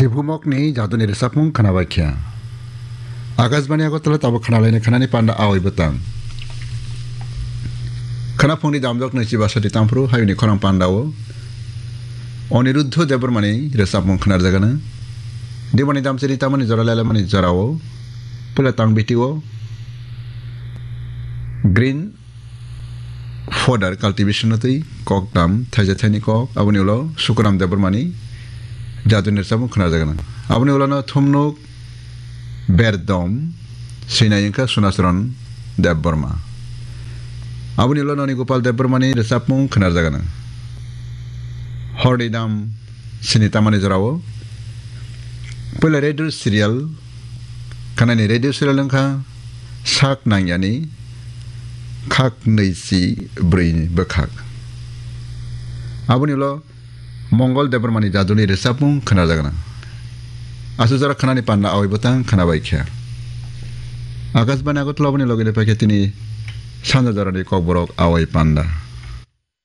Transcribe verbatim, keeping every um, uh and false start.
Tibumokni jaduni rwchapmung khwnabaikha. Akashbani Agartala tabuk khwnalaini khwnani panda awai bwtang. Khwnaphungni damjak naichi basati tamphru hayungni khorang pandao Aniruddha Debbarmani rwchapmung khwnarjagana. Dimani damchiri tamani jora lelemani jorao pula tang bitio green fodder cultivation no twi kok tam thaisa thaini kok, aboni ulo Sukuram Debbarmani jaduni rwchapmung khwnarjagana. Aboni ulo no thumnuk berdom swinai wngkha Sunacharan Debbarma. Aboni ulo Noni Gopal Debbarmani rwchapmung khwnarjagana. Horni dam sini tamani jorao puila radio serial, kanani radio serial wngkha Sak Nangyani Khak Nwichi Bwrwini Bwkhak. Aboni ulo Mongol Debbarmani jaduni rwchapmung khwnarjagana. Aswk jora khwnani panda awai bwtang khwnabaikha. Akashbani Agartala aboni logi paikha tini sanja jorani kokborok awai panda.